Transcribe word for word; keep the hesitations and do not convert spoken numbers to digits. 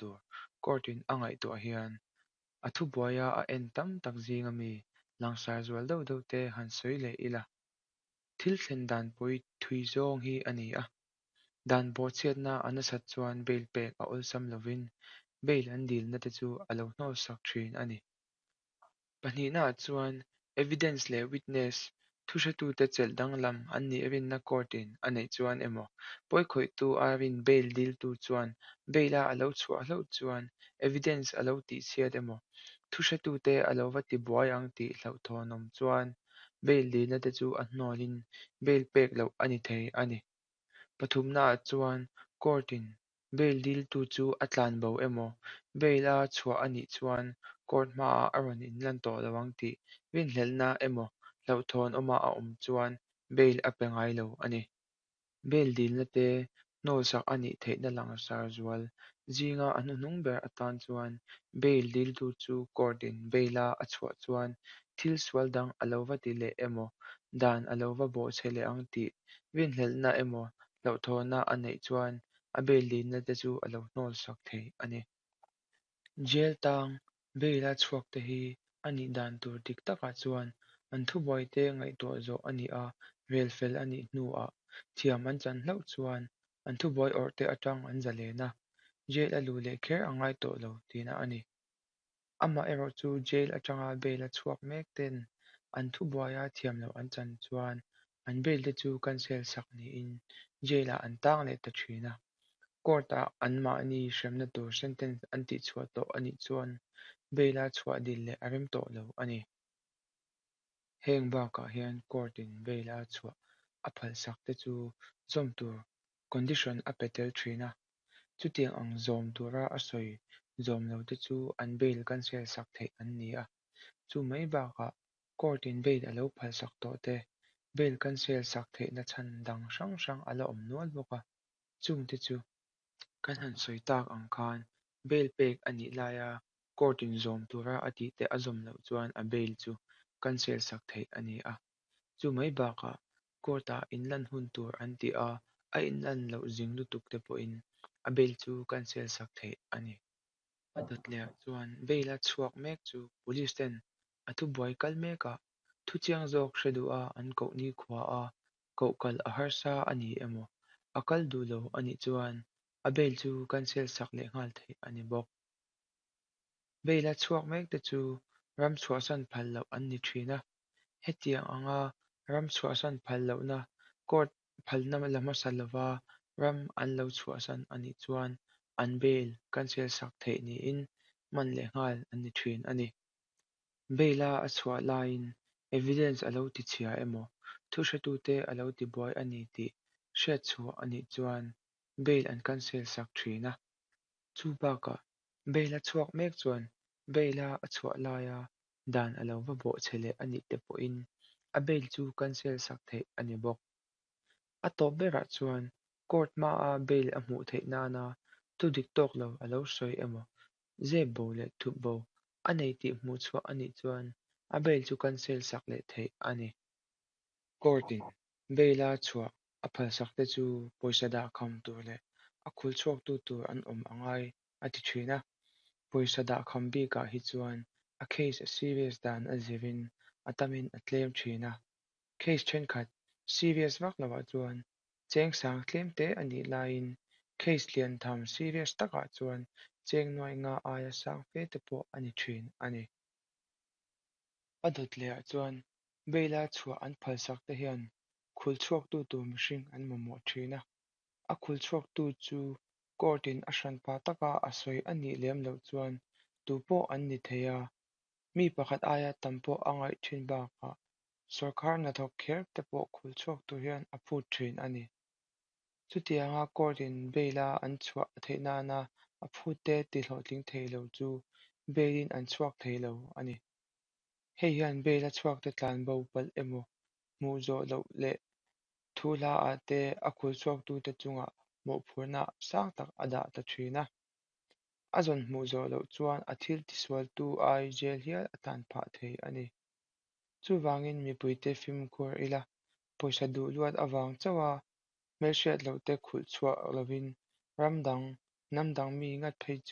tur court-in a ngaihtuah hian a thubuaia a en tam tak zinga mi langsar zual deuh deuh te han sawi leh ila. Thil thlen dan pawi thui zawng hi a ni a. Dan bawhchhiatna a nasat chuan bail pek a awlsam lovin bail an dilna te chu a lo hnawlsak thin a ni. Pahnihnaah chuan evidence leh witness thuhretute chelh danglam an nih rinna court-in a neih chuan emaw, pawikhawihtu a rin bail diltu chuan bail-a a lo chhuah hlauh chuan evidence a lo tihchhiat emaw, thuhretute a lo va tibuai ang tih hlauhthawnawm chuan bail dilna te chu a hnawlin bail pek loh a ni thei a ni. Pathumnaah chuan court-in bail diltu chu a tlanbo emaw, bail-a chhuah a nih chuan court hmaah a rawn inlan tawh lo ang tih rinhlelhna emaw hlauhthawn awma a awm chuan bail a pe ngai lo a ni. Bail dilna te hnawlsak a nih theihna langsar zual zinga a hnuhnung ber atan chuan bail diltu chu court-in bail-a a chhuah chuan thil sual dang a lo va ti leh emaw, dan a lo va bawhchhe leh ang tih rinhlelhna emaw hlauhthawnna a neih chuan a bail dilna te chu a lo hnawlsak thei a ni. Jail tang bail-a chhuak te hi a nih dan tur dik takah chuan an thubuaite ngaihtuah zawh a nih a, rel fel a nih hnuah thiam an chan hlauh chuan an thubuai awrhte atang an zalen a, jail a luh leh kher a ngai tawh lo tihna a ni. Amaherawhchu jail atanga bail-a chhuak mek ten an thubuaia thiam loh an chan chuan an bail te chu cancel sak niin jail-ah an tang leh ta thin a. Court-ah anmahni hremna tur sentence an tihchhuah tawh a nih chuan bail-a chhuah dil leh a rem tawh lo a ni. Heng bakah hian court-in bail-a chhuah a phalsak te chu zawm tur condition a pe tel thin a. Chutiang ang zawm tura a sawi zawm lo te chu an bail cancel sak theih an ni a. Chu mai bakah court-in bail a lo phalsak tawh te bail cancel sak theihna chhan dang hrang hrang a la awm nual bawk a. Chungte chu kan han sawi tak ang khan bail pek a nih laia court-in zawm tura a tih te a zawm loh chuan a bail chu cancel sak theih a ni a. Chu mai bakah court-ah inlan hun tur an ti a, a inlan loh zing lutuk te pawhin a bail chu cancel sak theih a ni. A dawt lehah chuan bail-a chhuak mek chu police ten a thubuai kal mekah thu chiang zawk hre duha an koh nikhua a, koh kal a harsa a ni emaw, a kal duh lo a nih chuan a bail chu cancel sak leh nghal theih a ni bawk. Bail-a chhuak mek te chu ram chhuahsan phal loh an ni thin a. Hetiang anga ram chhuahsan phal lohna court phalna la hmasa lova ram an lo chhuahsan a nih chuan an bail cancel sak theih niin man leh nghal an ni thin a ni. Bail-a a chhuah laiin evidence a lo tichhia emaw, thuhretute a lo tibuai a ni tih hriatchhuah a nih chuan bail an cancel sak thin a. Chu bakah bail-a chhuak mek chuan bail-a a chhuah laia dan a lo va bawhchhe leh a nih te pawhin a bail chu cancel sak theih a ni bawk. A tawp berah chuan court hmaa bail a hmuh theih nana thu dik tawk lo a lo sawi emaw, zep bo leh thup bo a nei tih hmuh chhuah a nih chuan a bail chu cancel sak leh theih a ni. Court-in bail-a chhuah a phalsak te chu pawisa dahkham tur leh a khul chhuaktu tur an awm a ngai a ti thin a. Pawisa dahkham bikah hi chuan a case a serious dan a zirin a tamin a tlem thin a. Case thenkhat serious vak lovah chuan cheng sang tlem te a nih laiin case lian tham serious takah chuan cheng nuai nga aia sang fe te pawh a ni thin a ni. A dawt lehah chuan bail-a chhuah an phalsak te hian khul chhuaktu tur mihring an mamawh thin a. A khul chhuaktu chu court-in a hranpa taka a sawi a nih lem loh chuan tupawh an ni thei a. Mi pakhat aia tam pawh a ngaih thin bakah sawrkar hnathawk kher te pawh khul chhuak tur hian a phut thin a ni. Chutianga court-in bail-a an chhuah theih nana a phut te tihlawhtling thei lo chu bail-in an chhuak thei lo a ni. Hei hian bail-a chhuak te tlanbo palh emaw, hmuh zawh loh leh thu hlaah te a khul chhuaktute chungah mawhphurhna sang tak a dah ta thin a. A zawn hmuh zawh loh chuan a thil tisualtu ai jail hial a tan phah thei a ni. Chuvangin mipuite fimkhur ila, pawisa duh luat avang chauha hmelhriat loh te khulh chhuak lovin ram dang, hnam dang mi ngat phei chu